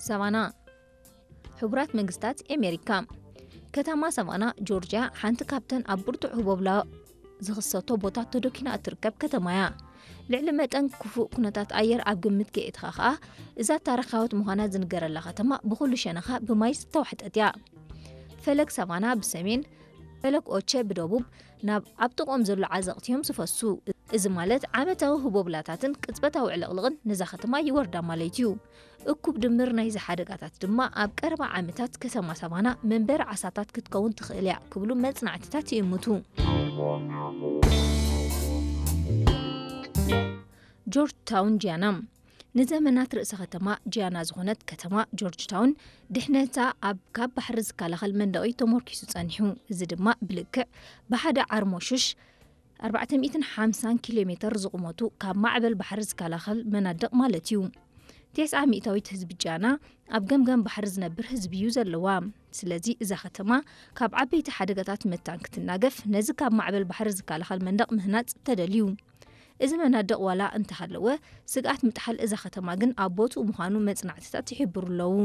ሰቫና። ሕቡራት መንግስታት ኣሜሪካ። ከተማ ሰቫና ጆርጅያ ሓንቲ ካብተን ኣብ ብርቱዕ ህቦብላ ዝኽሰቶ ቦታ ተደኪና እትርከብ ከተማ እያ። ልዕሊ መጠን ክፉእ ኩነታት ኣየር ኣብ ግምት ከየእትኻ ከኣ፣ እዛ ታሪኻዊት ምዃና ዝንገረላ ከተማ ብኹሉ ሸነኻ ብማይ ዝተዋሕጠት እያ። ፈለግ ሰቫና ብሰሜን፣ ፈለግ ኦቸ ብደቡብ፣ ናብ ኣብ ጥቕኦም ዘሎ ዓዘቕቲ እዮም ዝፈሱ። እዚ ማለት ዓመታዊ ህቦብላታትን ቅጽበታዊ ዕልቕልቕን ነዛ ከተማ ይወርዳ ማለት እዩ። እኩብ ድምር ናይዚ ሓደጋታት ድማ ኣብ ቀረባ ዓመታት ከተማ ሰቫና መንበሪ ዓሳታት ክትከውን ትኽእል እያ ክብሉ መጽናዕትታት ይእምቱ። ጆርጅ ታውን ጂያና። ንዘመናት ርእሰ ከተማ ጂያና ዝኾነት ከተማ ጆርጅ ታውን ድሕነታ ኣብ ካብ ባሕሪ ዝከላኸል መንደቕ እዩ ተመርኪሱ ጸኒሑ። እዚ ድማ ብልክዕ ብሓደ ዓርሞሹሽ ኣርባዕተ ሚእትን ሓምሳን ኪሎ ሜተር ዝቑመቱ ካብ ማዕበል ባሕሪ ዝከላኸል መናድቕ ማለት እዩ። ተስዓ ሚእታዊት ህዝቢ ጃና ኣብ ገምገም ባሕሪ ዝነብር ህዝቢ እዩ ዘለዋ። ስለዚ እዛ ከተማ ካብ ዓበይቲ ሓደጋታት መታን ክትናገፍ ነዚ ካብ ማዕበል ባሕሪ ዝከላኸል መንደቕ ምህናጽ ተደልዩ። እዚ መናድቕ ዋላ እንተሃለወ፣ ስግኣት ምጥሓል እዛ ከተማ ግን ኣብ ቦትኡ ምዃኑ መጽናዕትታት ይሕብሩ ኣለዉ።